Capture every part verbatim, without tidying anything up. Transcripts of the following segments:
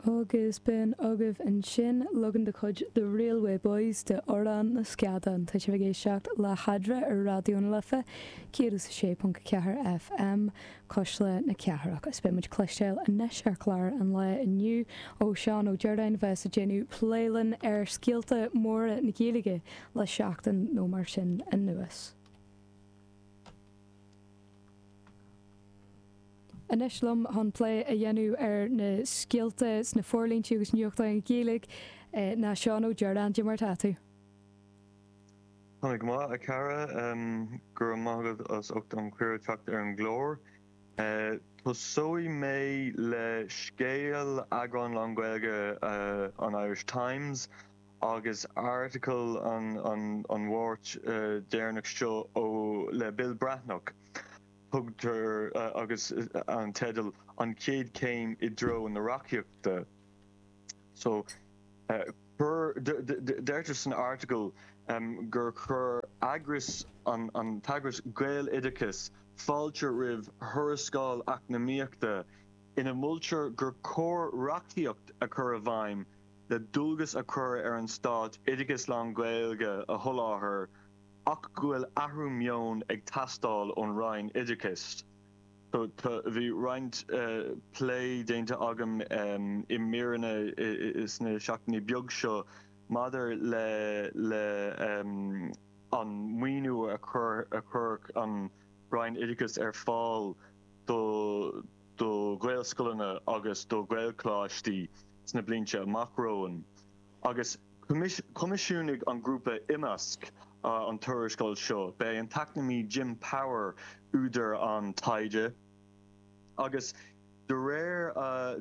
Agus b'in agaibh ansin leagan de chuid The Railway Boys de Amhrán na Scadán tá sibh ag éisteacht le hEadra ar Raidió na Life céad is a sé ponc a ceathair FM Cuisle na Cathrach is beidh muid cloisteáil anois ar chlár an lae inniu ó Seán Ó Direáin bheas ag déanamh plé linn ar scéalta móra na Gaeilge le seachtain nó mar sin anuas. Anois liom chun plé a dhéanamh ar na scéalta sna forlíontaí agus nuachtáin Ghaeilge ná Seán Ó Direáin, Cad é mar atá tú? Tá mé go maith, a chara. Go raibh maith agat as ucht an cuireadh teacht ar an gclár. Tosóidh mé le scéal eagrán lán-Ghaeilge an Irish Times agus article an Mháirt deireanach seo ó le Bill Breathnach. Tugtar agus an teideal 'An Chéad Chéim i dTreo na Reachtaíochta'. So, chuir, deirtear san article gur chuir eagras, an t-eagras Gaeloideachas fáilte roimh thuarascáil eacnamaíochta ina moltar gur chóir reachtaíocht a chur i bhfeidhm le dualgas a chur ar an stát oideachas lán-Ghaeilge a sholáthar ach go bhfuil athrú meoin ag teastáil ón Roinn Oideachais. Bhí roinnt plé déanta agam i míreanna sna seachtainí beag seo maidir le an maoiniú a chuirfeadh an Roinn Oideachais ar fáil do Ghaelscoileanna agus do Ghaelcholáistí sna blianta amach romhainn agus Choimisiúnaigh an grúpa Imeasc an tuarascáil seo. B'é an t-eacnamaí Jim Power údar an taighde agus de réir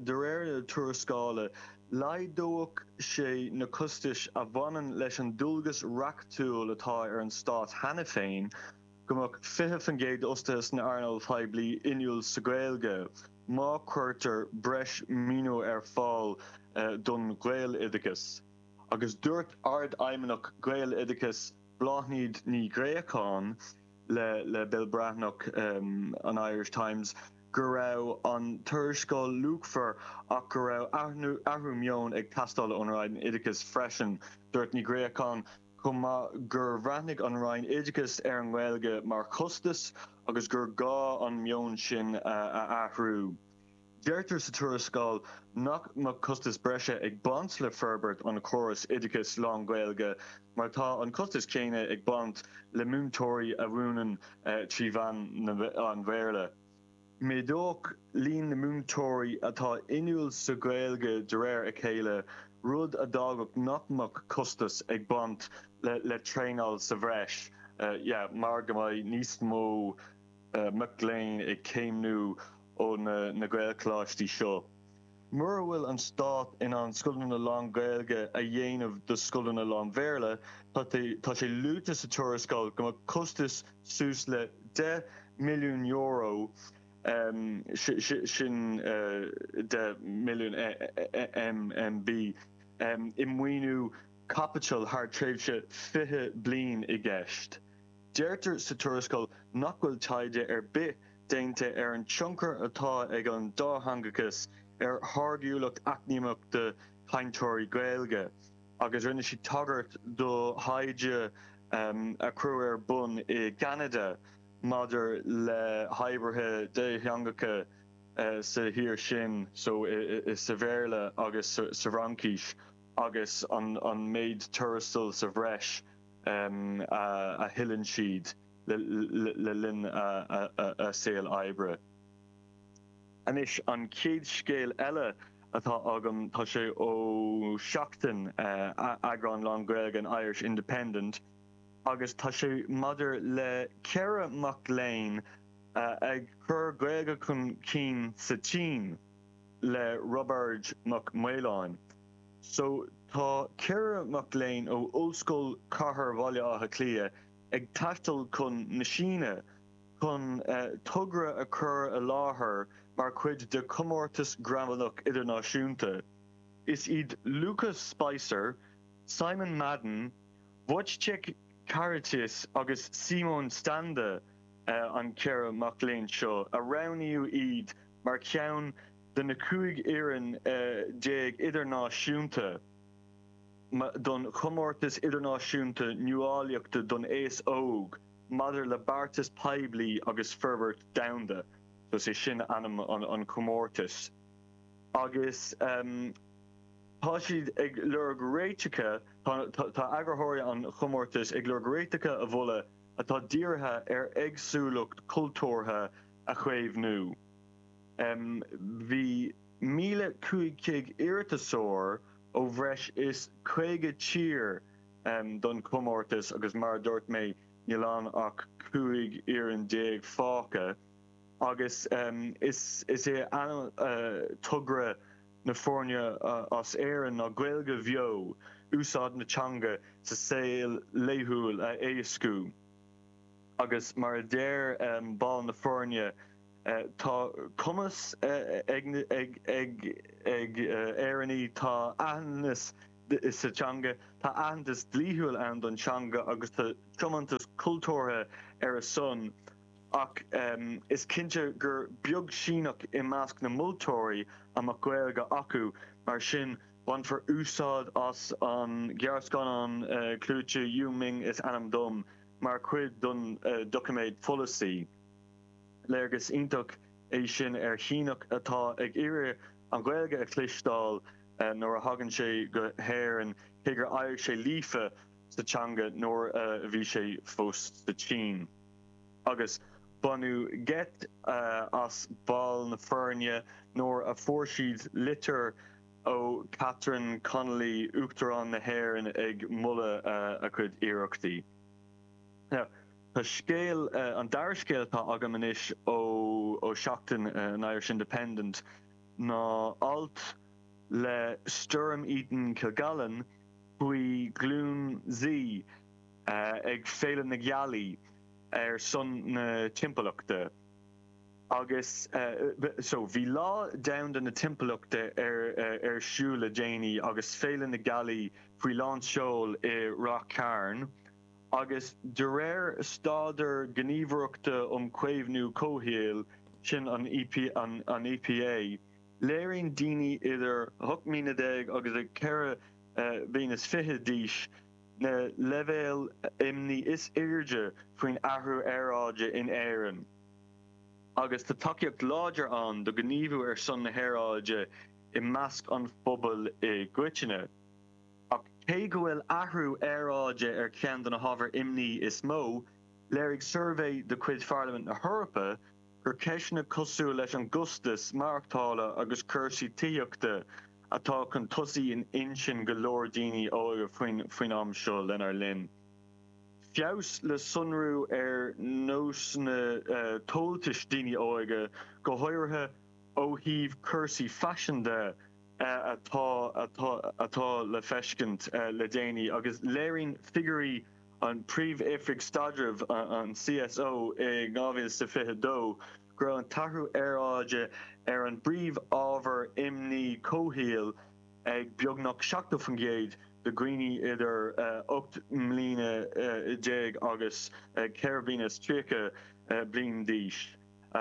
de réir na tuarascála, laghdódh sé na costais a bhaineann leis an dualgas reachtúil atá ar an stát cheana féin go mbeadh fiche faoin gcéad d'fhostaithe san earnáil phoiblí inniúil sa Ghaeilge má chuirtear breis maoiniú ar fáil don Ghaeloideachas. Agus dúirt Ardfheidhmeannach Gaeloideachas Bláthnaid Ní Ghréacháin le le Bill Breathnach an Irish Times go raibh an tuarascáil luachmhar ach go raibh athrú meoin ag teastáil ón Roinn Oideachais freisin. Dúirt Ní Ghréacháin chomh maith gur bhreathnaigh an Roinn Oideachais ar an nGaeilge mar chostas agus gur gá an meon sin a athrú. Deirtear sa tuarascáil nach mbeadh costas breise ag baint le forbairt an chórais oideachais lán-Ghaeilge mar tá an costas céanna ag baint le múinteoirí a mhúineann trí mheán an Bhéarla. Méadódh líon na múinteoirí atá inniúil sa Ghaeilge de réir a chéile, rud a d'fhágfadh nach mbeadh costas ag baint le traenáil sa bhreis mar go mbeidh níos mó mac léinn ag céimniú ó na Gaelcholáistí seo. Mura bhfuil an stát in ann scoileanna lán-Ghaeilge a dhéanamh de scoileanna lán-Bhéarla, tá sé luaite sa tuarascáil go mbeadh costas suas le deich milliún euro, sin deich milliún MMB, i maoiniú caipitil thar tréimhse fiche bliain i gceist. Deirtear sa tuarascáil nach bhfuil taighde ar bith déanta ar an tionchar atá ag an dátheangachas ar tháirgiúlacht eacnamaíochta cainteoirí Gaeilge agus rinne siad tagairt do thaighde a cuireadh ar bun i gCeanada maidir le hoibrithe dátheangacha sa thír sin, so sa Bhéarla agus sa bhFraincis agus an méid tuarastail sa bhreis. a thuilleann siad le linn a saol oibre. Anois, an chéad scéal eile atá agam, tá sé ó Seachtain, eagrán lán-Ghaeilge an Irish Independent, agus tá sé maidir le ceithre mac léinn ag cur Gaeilge chun cinn sa tSín le Roibeard Mac Maoláin. So, tá ceithre mac léinn ó Ollscoil Chathair Bhaile Átha Cliath ag taisteal chun na Síne chun togra a chur i láthair mar chuid de chomórtas gramadach idirnáisiúnta. Is iad Lucas Spicer, Simon Madden, Wojciech Karytis agus Simon Standa an ceithre mac léinn seo, a roghnaíodh iad mar cheann de na cúig fhoireann déag idirnáisiúnta don Chomórtas Idirnáisiúnta Nuálaíochta don Aos Óg maidir le beartas poiblí agus forbairt domhanda. So is é sin ainm an, an comórtas. Agus um, tá siad ag lorg réiteacha tá, tá, tá eagraitheoirí an chomórtais ag lorg réiteacha a mholadh atá dírithe ar éagsúlacht cultúrtha a chaomhnú. Um, bhí míle cúig chéad iarratasóir ó bhreis is caoga tír um, don chomórtas agus mar dúirt mé níl ann ach cúig fhoireann déag fágtha agus um, is, is é an uh, togra na foirne uh, as Éirinn ná Gaeilge bheo úsáid na teanga sa saol laethúil a éascú. Agus mar a deir um, ball na foirne uh, tá cumas uh, ag, ag, ag, ag uh, Éireannaigh tá aitheantas sa teanga tá aitheantas dlíthiúil ann don teanga agus tá tiomantas cultúrtha ar a son ach um, is cinnte gur beag Síneach i measc na moltóirí a mbeadh Gaeilge acu mar sin bainfear úsáid as an gearrscannán uh, clúiteach Yu Ming is ainm dom mar chuid don uh, doiciméad polasaí. Léargas iontach é sin ar Shíneach atá ag iarraidh an Ghaeilge a chloisteáil uh, nuair a thagann sé go hÉirinn cé gur éirigh sé líofa sa teanga nuair uh, a bhí sé fós sa tSín. Agus baineadh geit uh, as baill na foirne nuair a fuair siad litir ó Catherine Connolly Uachtarán na hÉireann ag moladh uh, a cuid iarrachtaí. Now, Tá scéal uh, an dara scéal atá agam anois ó ó seachtain uh, an Irish Independent ná alt le Storm Eaton Kilgallen faoi Glúin Z uh, ag Féile na Gealaí ar son na timpeallachta. Agus uh, so bhí lá domhanda na timpeallachta ar uh, ar siúl le déanaí agus Féile na Gealaí faoi lánseol i Ráth Cairn, agus de réir staidéar Gníomhaireachta um Chaomhnú Comhshaoil sin an, EP, an, an EPA, léiríonn daoine idir ocht mbliana déag agus a ceithre uh, bliana is fiche d'aois na leibhéil imní is airde faoin athrú aeráide in Éirinn. Agus tá tacaíocht láidir ann do ghníomhú ar son na haeráide i measc an phobail i gcoitinne. Ach cé go bhfuil athrú aeráide ar cheann de na hábhair imní is mó, léirigh suirbhé de chuid Pharlaimint na hEorpa gur ceisteanna cosúil leis an gcostas maireachtála agus cúrsaí tithíochta atá chun tosaigh in intinn go leor daoine óga faoin faoin am seo lenár linn. Feabhas le sonrú ar nósanna uh, tomhaltais daoine óga go háirithe ó thaobh cúrsaí faisin de uh, atá atá atá le feiscint uh, le déanaí agus léiríonn figiúirí an Príomh-Oifig Staidrimh an CSO i dhá mhíle is fiche dó go raibh an t-athrú aeráide ar an bpríomhábhar imní comhshaoil ag beagnach seachtó faoin gcéad de dhaoine idir ocht mbliana déag agus ceithre bliana is tríocha bliain d'aois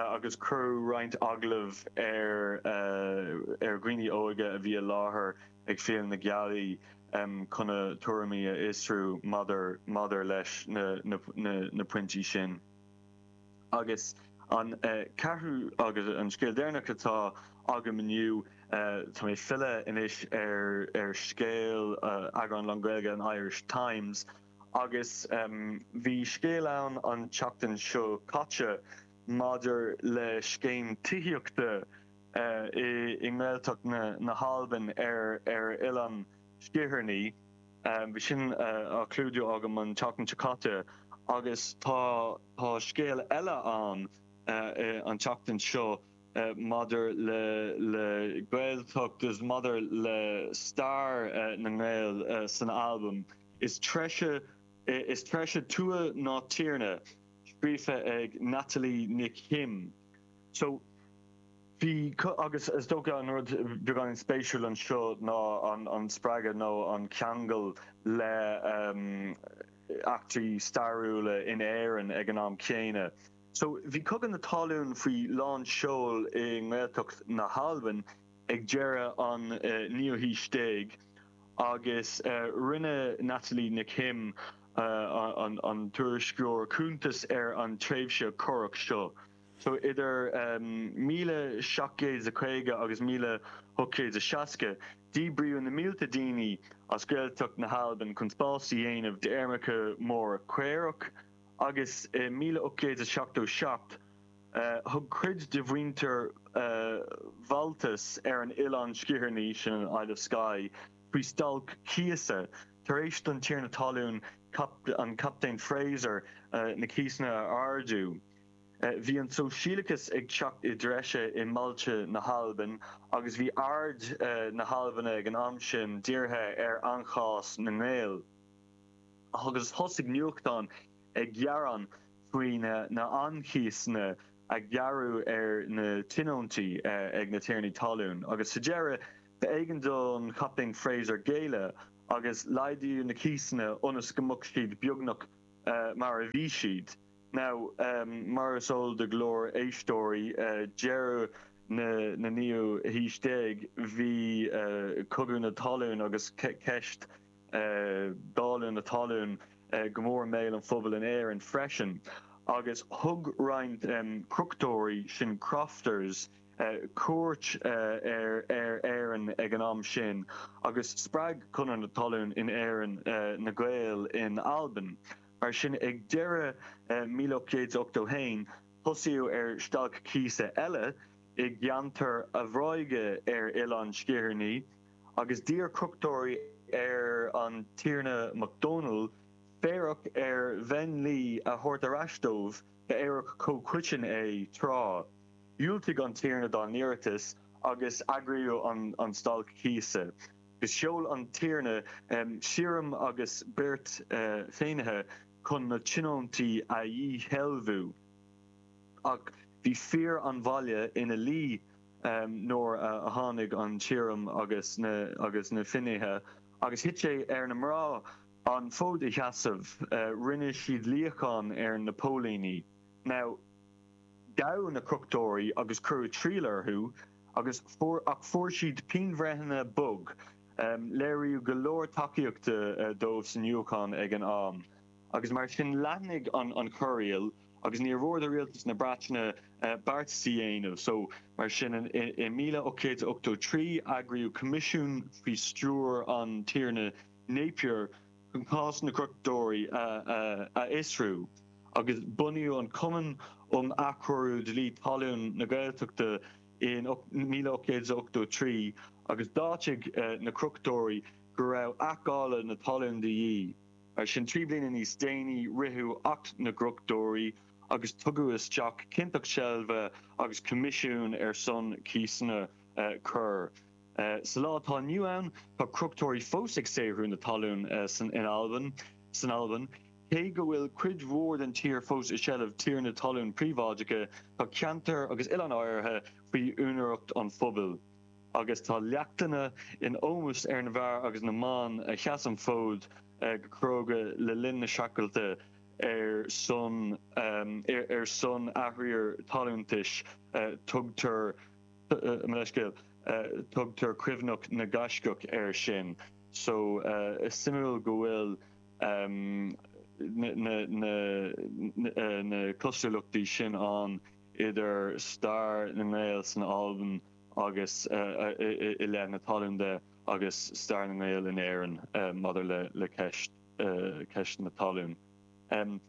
agus cuireadh roinnt agallamh ar ar dhaoine óga a bhí i láthair ag Féile na Gealaí chun a dtuairimí a fhiosrú maidir maidir leis na, na, na, na pointí sin. Agus an ceathrú agus an scéal deireanach atá agam inniu tá mé filleadh anois ar ar scéal eagrán lán-Ghaeilge an Irish Times agus um, bhí scéal ann an tseachtain seo caite maidir le scéim tithíochta uh, i, i nGaeltacht na, na hAlban ar ar Oileán Sgitheanach. Um, bhí sin uh, á chlúdú agam an tseachtain seo caite agus tá tá scéal eile ann uh, an tseachtain seo uh, maidir le le Gaeltacht is maidir le stair uh, na nGael uh, san Albain. Is treise is treise tuath ná tiarna scríofa ag Natalie Nic Him. So bhí agus is dócha an rud beagán spéisiúil anseo ná an, an spreagadh nó an ceangal le um, eachtraí stairiúla in Éirinn ag an am céanna. So bhí Cogadh na Talún faoi lán seoil i nGaeltacht na hAlban ag deireadh an naoú haois déag agus rinne Natalie Nic Shuim an tuairisceoir cuntas ar an tréimhse corrach seo. So idir míle seacht gcéad is a caoga agus míle hocht gcéad is a seasca, díbríodh na mílte daoine as Gaeltacht na hAlban chun spás a dhéanamh d'fheirmeacha móra caorach agus i míle ocht gcéad is seachtó seacht, thug cuid de mhuintir Bhaltais ar an Oileán Sgitheanach, sin an Isle of Skye, faoi stailc cíosa tar éis don tiarna talún, an Captaen Fraser, na cíosanna a ardú. Bhí an sóisialachas ag teacht i dtreise i mbailte na hAlban agus bhí aird na hAlban ag an am sin dírithe ar anchás na nGael. Agus thosaigh nuachtáin ag gearán faoi na han-chíosanna a gearradh ar na tionóntaí ag na tiarnaí talún agus sa deireadh b'éigean don Chaptaen Fraser géilleadh agus laghdaíodh na cíosanna ionas go mbeadh siad beagnach mar a bhí siad. Now, mar is eol do go leor éisteoirí, deireadh na naoú haois déag, bhí Cogadh na Talún agus ceist dáileadh na talún go mór i mbéal an phobail in Éirinn freisin, agus thug roinnt crochtóirí, sin crofters, cuairt ar Éirinn ag an am sin agus spreag Conradh na Talún in Éirinn na Gaeil in Albain. Mar sin, ag deireadh míle ocht gcéad is ochtó haon, tosaíodh ar stailc cíosa eile i gceantar a' Bhráige ar Oileán Sgitheanach agus d'iarr crochtóirí ar an Tiarna MacDonald féarach ar Bheinn Laoi a thabhairt ar ais dóibh, ba fhéarach comhchoiteann é tráth. Dhiúltaigh an Tiarna dá n-iarratas agus eagraíodh an stailc cíosa. Agus sheol an Tiarna sirriam agus beirt fhinnéithe chun na tionóntaí a dhíshealbhú. Ach bhí fir an bhaile ina luí nuair a tháinig an sirriam agus agus na finnéithe, agus thit sé ar na mná an fód a sheasamh. Rinne siad luíochán ar na póilíní. Now. Gabhadh na crochtóirí agus cuireadh triail orthu agus fuair ach fuair siad pianbhreitheanna bog. Léiríodh go leor tacaíochta dóibh sa nuachtán ag an am agus mar sin leathnaigh an chorraíl agus níor mhór do rialtas na Breataine beartas a dhéanamh. So mar sin i míle ocht gcéad is ochtó trí eagraíodh coimisiún faoi stiúir an Tiarna Napier chun cás na gcrochtóirí a fhiosrú agus bunaíodh an Cumann um Athchóiriú Dlí Talún na Gaeltachta in míle ocht gcéad is ochtó trí agus d'áitigh na crochtóirí go raibh athdháileadh na talún de dhíth. Mar sin, trí bliana níos déanaí, ritheadh Acht na gCrochtóirí agus tugadh isteach ciontacht seilbhe agus coimisiún ar son cíosanna corr. Sa lá atá inniu ann, tá crochtóirí fós ag saothrú na talún san Albain. San Albain, cé go bhfuil cuid mhór den tír fós i seilbh tiarnaí talún príobháideacha, tá ceantair agus oileáin áirithe faoi úinéireacht an phobail, agus tá leachtanna in ómós ar na bhfear agus na mban a sheas an fód go cróga le linn na streachailte ar son ar son athriar talúntais. Tugtar. Mo leithscéal, tugtar Cuimhneach na nGaiscíoch air sin. So, is suimiúil go bhfuil na cosúlachtaí sin ann idir stair na nGael san Albain agus i leith na talún de agus stair na nGael in Éirinn maidir le ceist na talún.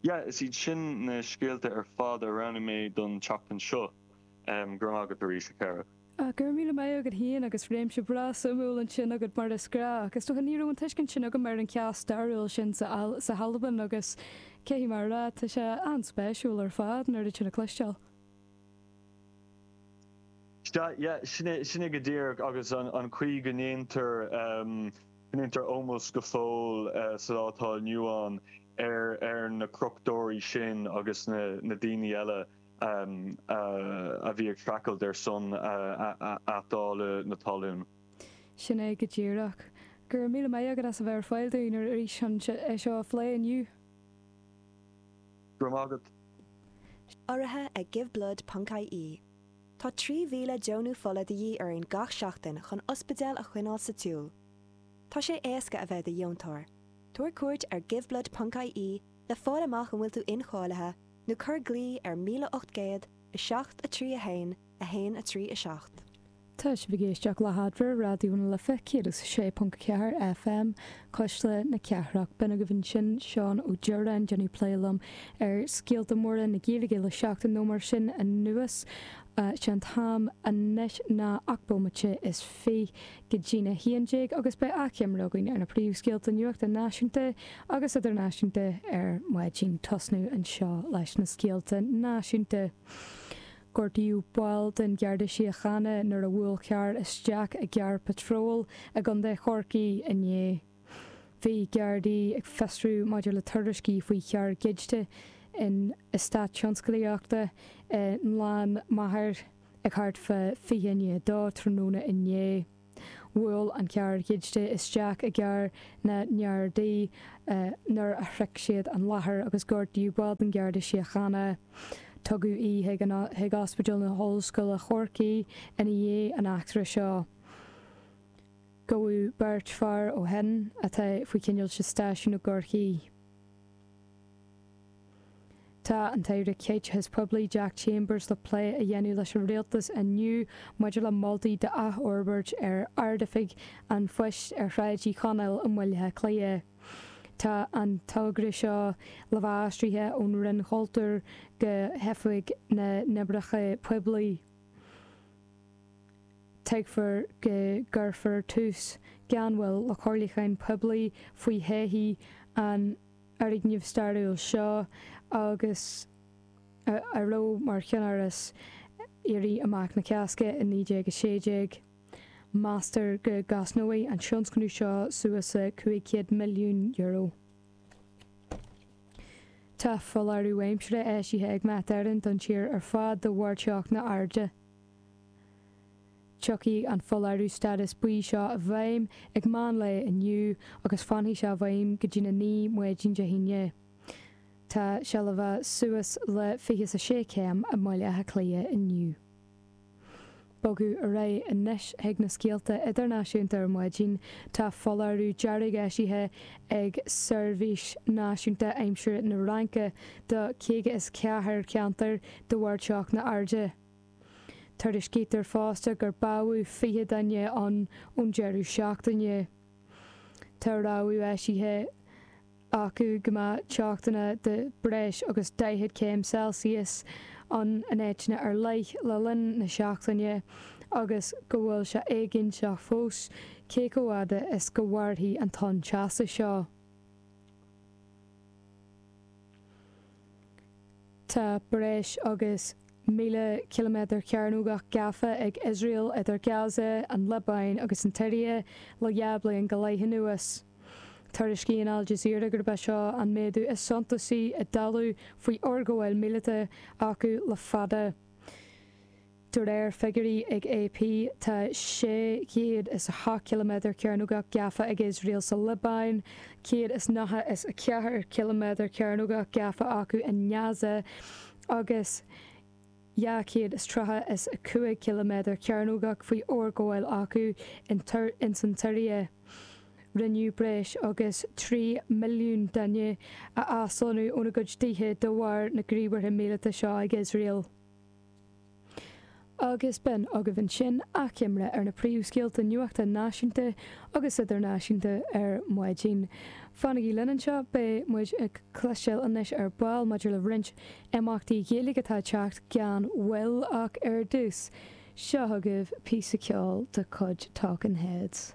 Yeah, is iad sin na scéalta ar fad a roghnaigh mé don tseachtain seo. Go raibh maith agat arís, a chara. Go raibh míle maith agat féin agus réimse breá suimiúil ansin agat mar is gnách. Is dócha ní raibh an tuiscint sin agam ar an chás stairiúil sin sa sa hAlbain agus caithfidh mé a rá tá sé an-spéisiúil ar fad an oiread sin a chloisteáil. Sea, yeah, sin é, sin é go díreach agus an an chaoi go ndéantar go ndéantar ómós go fóill sa lá atá inniu ann ar ar na crochtóirí sin agus na na daoine eile a bhí ag streachailt ar son athdháileadh na talún. Sin é go díreach. Go raibh míle maith agat as a bheith ar fáil dúinn arís chun é seo a phlé inniu. Go raibh maith agat. Urraithe ag giveblood ponc ie. Tá trí mhíle deonú fola de dhíth orainn gach seachtain chun ospidéil a choinneáil sa tsiúl. Tá sé éasca a bheith i do dheontóir. Tabhair cuairt ar giveblood ponc ie le fáil amach an bhfuil tú incháilithe nó cuir glao ar míle ocht gcéad, a seacht, a trí a haon, a haon a trí a seacht. Tá sibh ag éisteacht le hAdhmhaidin, Raidió na Life céad is a sé ponc ceathair F M, Cuisle na Cathrach. B'in agaibh ansin Seán Ó Direáin ag déanamh plé liom ar scéalta móra na Gaeilge le seachtain nó mar sin anuas. Sé an t-am anois ná ocht bomaite is fiche go dtína haon déag agus beidh achoimre againn ar na príomhscéalta nuachta náisiúnta agus idirnáisiúnta ar maidin. Tosnú anseo leis na scéalta náisiúnta. Gortaíodh baill den Gharda Síochána nuair a bhuail carr isteach i gcarr patróil i gContae Chorcaí inné. Bhí Gardaí ag fiosrú maidir le tuairiscí faoi charr goidte in eastát tionsclaíochta i nGleann Maghair ag thart fá fiche i ndiaidh a dó tráthnóna inné. Bhuail an carr goidte isteach i gcarr na nGardaí nuair a shroich siad an láthair agus gortaíodh baill den Gharda Síochána. Tugadh í chuig Ospidéal na hOllscoile Chorcaí ina dhiaidh an eachtra seo. Gabhadh beirt fear ó shin atá faoi choinneáil sa stáisiún i gCorcaigh. Tá an tAire Caiteachais Poiblí Jack Chambers le plé a dhéanamh leis an rialtas inniu maidir le moltaí d'athfhorbairt ar Ard-Oifig an Phoist ar Shráid Uí Chonaill i mBaile Átha Cliath. Tá an togra seo le bheith aistrithe ón Roinn Chultúir go hOifig na nOibreacha Poiblí. Tuigtear go gcuirfear tús gan mhoill le comhairliúchán poiblí faoi thodhchaí an fhoirgnimh stairiúil seo agus a raibh mar cheannáras Éirí Amach na Cásca i naoi déag a sé déag. Meastar go gcosnóidh an tionscnamh seo suas le cúig chéad milliún euro. Tá foláireamh aimsire eisithe ag Met Éireann don tír ar fad de bharr teochtaí arda. Tiocfaidh an foláireamh stádas buí seo i bhfeidhm ag meán lae inniu agus fanfaidh sé i bhfeidhm go dtí a naoi maidin Dé hAoine. Tá sé le bheith suas le fiche is a sé céim i mBaile Átha Cliath inniu. Bogadh ar aghaidh anois chuig na scéalta idirnáisiúnta ar maidin, tá foláireamh dearg eisithe ag Seirbhís Náisiúnta Aimsire na Fhraince do caoga is ceathair ceantar de bharr teochtaí arda. Tuairiscítear fosta gur bádh fiche duine ann ón deireadh seachtaine. Tá rabhadh eisithe acu go mbeidh teochtaí de breis agus daichead céim Celsius ann in áiteanna ar leith le linn na seachtaine agus go bhfuil sé éiginnte fós cé chomh fada is go mhairfidh an tonn teasa seo. Tá breis agus míle ciliméadar cearnógach gafa ag Iosrael idir Gaza, an Liobáin agus an tSiria le dhá bliain go leith anuas. Tuairiscíonn Al Jazeera gurb é seo an méadú is suntasaí i dtalamh faoi fhorghabháil míleata acu le fada. De réir figiúirí ag A P, tá sé chéad is a hocht ciliméadar cearnógach gafa ag Iosrael sa Liobáin, céad is nócha is a ceathair ciliméadar cearnógach gafa acu i nGaza agus dhá chéad is tríocha is a cúig ciliméadar cearnógach faoi fhorghabháil acu ins an tSiria. Rinneadh breis agus trí milliún duine a aslonnú óna gcuid tithe de bharr na ngníomhartha míleata seo ag Iosrael. Agus b'in agaibh ansin achoimre ar na príomhscéalta nuachta náisiúnta agus idirnáisiúnta ar maidin. Fanaigí linn anseo, beidh muid ag cloisteáil anois ar ball maidir le roinnt imeachtaí Gaeilge atá ag teacht gan mhoill ach ar dtús, seo agaibh píosa ceoil de chuid Talking Heads.